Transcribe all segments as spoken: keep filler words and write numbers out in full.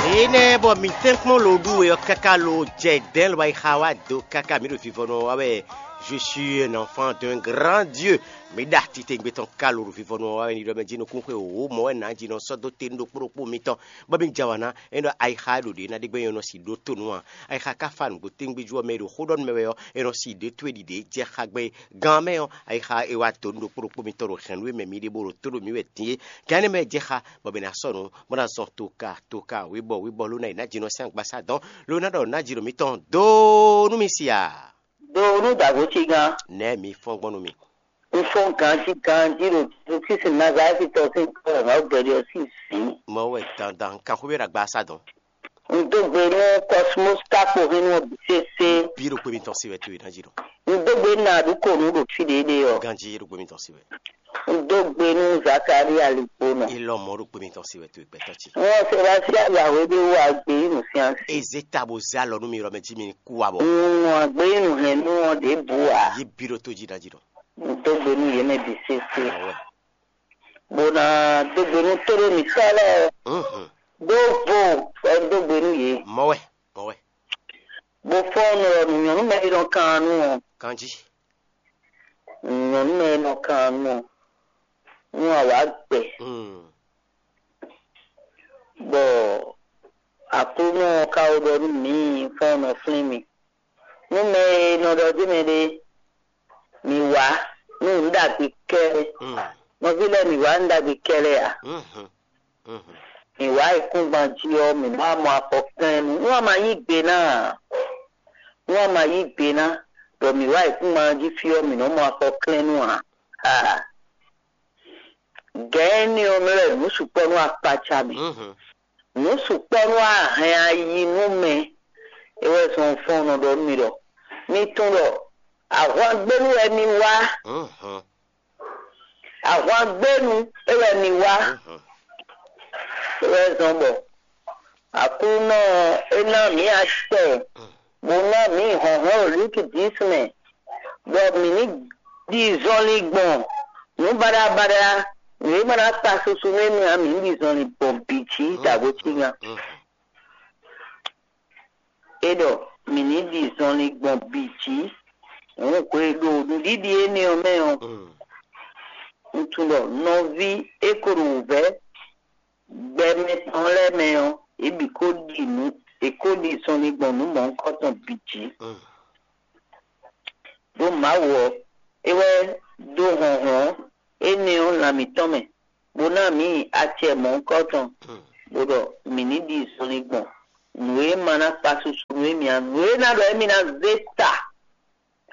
Énɛ́ bɔ mi tɛ́nkpɔ́n lo ɖú we ɔ́ káká lo jɛ dɛ̌n lo wá yi xa wá do káká mi ɖo vivɔnu ɔ́ wá wɛ. Je suis un enfant d'un grand Dieu. Mi ɖa titewungbe tɔn ká lo ɖo vivɔnu ɔ́ wá wɛ ní ɖɔ mɛ jí nukún xwe wǒ mɔ wɛ nǎ jí nɔ sɔ́ dó te nú ɖokpó ɖokpó mitɔn bɔ mi jɛ wǎ ná. É ɖɔ ayixa e ɖo ɖě ná ɖe gbɛ́ nyɔ́ nɔ si ɖó to nú a. Ayixa ka fa nǔgbó tɛ́ngbí jú ɔ́ mɛ e ɖo xó ɖɔ nú mɛ wɛ ɔ́, é nɔ si ɖě towe ɖiɖě jɛ xa gbɛn gán mɛ ɔ́, ayixa e wá dǒ nú ɖokpó ɖokpó mitɔn ɖo hɛ̌nnu e mɛ mi ɖe bó ɖo tó ɖo mǐ wɛ din é. Gǎn énɛ́ mɛ jɛ xa bɔ mǐ ná sɔ́ nǔ bó ná zɔn toka toka wěbɔ wěbɔ ló ná yi ná jinɔ sín agbasá dɔn ló ná ɖɔ ná jinɔ mǐtɔn dó nú mi si a. Do nú dǎgbo cígán. Nɛ̌ mi fɔ́n gbɔn nú mi? Un fɔ́n ganjí ganjí ɖo Jezu Kristi Nazalɛ́ti tɔn sín kɔ wɛ Mawu gbɛɖe ɔ́ sín zǐn. Mɔ̌ wɛ dandan kanxwé ɖo agbasá dɔn. Un dó gbe nú Kɔsmos Kákpo hɛn nú ɔ́ bǐ sésé. Bí ɖo kpé mitɔn sí wɛ towe ná jí ɖɔ. Un dó gbe nú Aɖǔkonu ɖo fí ɖě ɖe ɔ́. Ganjí ɖo kpé mitɔn sí wɛ. Un dó gbe nú Zakalía Ligbonɔ. Ilɔ mɔ̌ ɖo kpé mitɔn sí wɛ towe gbɛtɔ́ ce. Wọ́n Sebastian Yahweh ɖé wá gbé yi nǔ sín asi. Eze ta bó zé alɔ nú mi ɖɔ mɛ jí mi kú wa bɔ. Un wá gbé yi nǔ hɛn nú ɔ́ ɖěbǔ ǎ. Yí bí ɖo tó jí ná jí ɖɔ. Un dó gbe nú yě mɛ bǐ sésé. Awɛ. Bó ná dó gbe nú tóɖó mǐtɔn lɛ́ɛ. Mhm. Ɖó vo wɛ un dó gbe nú yě. Mɔ̌ wɛ, mɔ̌ wɛ. Bó fɔ́n nú ɔ́ nú nyɔ̌nu mɛ e nɔ kan nú ɔ́. Kanjí. Nyɔ̌nu mɛ e nɔ kan nú ɔ́. Nú awǎ gbɛ. Mm. Bɔ Aklúnɔ ɔ́ ka wá ɖɔ nú mǐ fɔ́n nɔ flín mì. Nú mɛ e nɔ ɖɔ dó mɛ ɖé, mǐ wá nú nǔ ɖagbe kɛ́ɖɛ́. Mm. Nɔví lɛ́ɛ, mǐ wá nú ɖagbe kɛ́ɖɛ́ ǎ. Mhm. Mhm. Mǐ wá ayǐkúngban jí ɔ́, mǐ ma mɔ afɔ klɛ́n nú. Nú a ma yí gbe ná ǎ, nú a ma yí gbe ná, ɖɔ mǐ wá ayǐkúngban jí fí ɔ́, mǐ nɔ́ mɔ afɔ klɛ́n nú ǎ. Aa. Gɛ̌n énɛ́ ɔ́ mɛ wɛ nǔ sukpɔ́ nú akpaca mì. Mhm. Nǔ sukpɔ́ nú ahɛn ayi nú mɛ. É wɛ zɔn fɔ́n nɔ ɖɔ nú mi ɖɔ mi tunwun ɖɔ ahwangbénu wɛ mi wá. Mhm. Ahwangbénu é wɛ mi wá. Mhm. É wɛ zɔn bɔ Aklúnɔ ɔ́, é ná mǐ acɛ, bó ná mǐ hlɔ̌nhlɔ́n ɖo Lúki dǐs mɛ, bɔ mǐ ní ɖi zɔnlin gbɔn nǔ baɖabaɖa, nǔ e ma ná kpa susu nú émí ǎ, mǐ ní ɖi zɔnlin gbɔn bǐ jí ɖo agbo cígan. É ɖɔ mǐ ní ɖi zɔnlin gbɔn bǐ jí. Hǔn hwe ɖo nǔɖiɖi énɛ́ ɔ́ mɛ ɔ́, un tunwun ɖɔ nɔví e ko ɖo wǔvɛ́ gbɛ mɛtɔn lɛ́ɛ mɛ ɔ́, yě bǐ ko ɖi nǔ, yě ko ɖi zɔnlin gbɔn nǔ mɔ̌hunkɔtɔn bǐ jí. Ɖó Mawu ɔ́, é wɛ dó hlɔ̌nhlɔ́n énɛ́ ɔ́ lan mǐtɔn mɛ, bó ná mǐ acɛ mɔ̌hunkɔtɔn, bó ɖɔ mǐ ní ɖi zɔnlin gbɔn nǔ e ma ná kpa susu nú émí ǎ, nǔ e ná ɖɔ émí ná zé ta,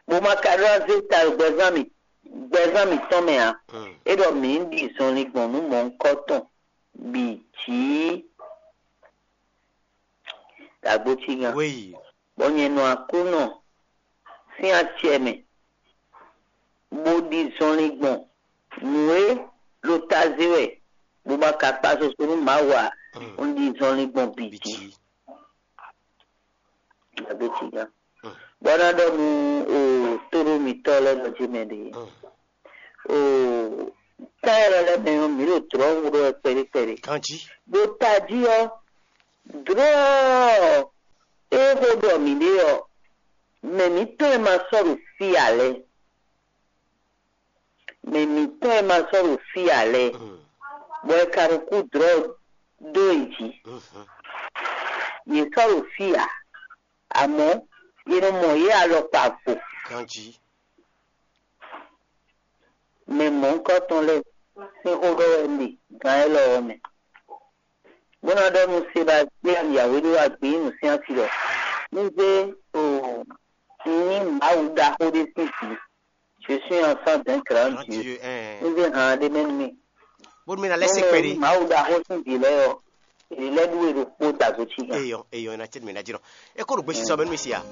bó ma ka ɖó ná zé ta ɖo gbɛzán mǐ gbɛzán mǐtɔn mɛ ǎ. É ɖɔ mǐ ní ɖi zɔnlin gbɔn nǔ mɔ̌hunkɔtɔn bǐ jí. Dǎgbó cígan. Wéyi. Bɔ nyɛ nɔ Aklúnɔ sín acɛ mɛ, bó ɖi zɔnlin gbɔn nǔ e ɖo taze wɛ, bó ma ka kpa susu nú Mawu ǎ, un ɖi zɔnlin gbɔn bǐ jí. Dǎgbó cígan. Bɔ ná ɖɔ nú o tóɖó mitɔ́ lɛ́ɛ nɔ jí mɛ ɖě. O tán élɔ́ lɛ́ɛ mɛ ɔ́, mǐ ɖo dlɔ̌ wú ɖɔ wɛ kpɛɖé kpɛɖé. Ganjí. Ɖo tají ɔ́, dlɔ̌ ɔ́, é xó ɖɔ mǐ ɖe ɔ́, mɛ mǐtɔn e ma sɔ́ ɖo fí ǎ lɛ́ɛ, mɛ mǐtɔn e ma sɔ́ ɖo fí ǎ lɛ́ɛ, bɔ è ka ɖo kú dlɔ̌ dó yě jí. Yě sɔ́ ɖo fí ǎ, amɔ̌ è nɔ mɔ yě alɔkpa vo. Ganjí. Mɛ mɔ̌hunkɔtɔn lɛ́ɛ sín xó ɖɔ wɛ un ɖe gan élɔ́ ɔ́ mɛ. Bó ná ɖɔ nú Sebastian Yahweh ɖó agbǐ nǔ sín asi ɖɔ: Un zé o nyí Mawu ɖaxó ɖé sín vǐ. Je suis enfant d'un grand Dieu. Un zé han ɖé mɛ nú mì. Bónú mì ná lɛ́ se kpɛɖé. Mawu ɖaxó sín vǐ lɛ́ɛ ɔ́, èlé lɛ́ ɖú we ɖokpó dǎgbó cí gan. Eyɔn, eyɔn, ina tse mi na dzi nɔ. E ko ɖo gbesisɔ mɛ nú mi si a?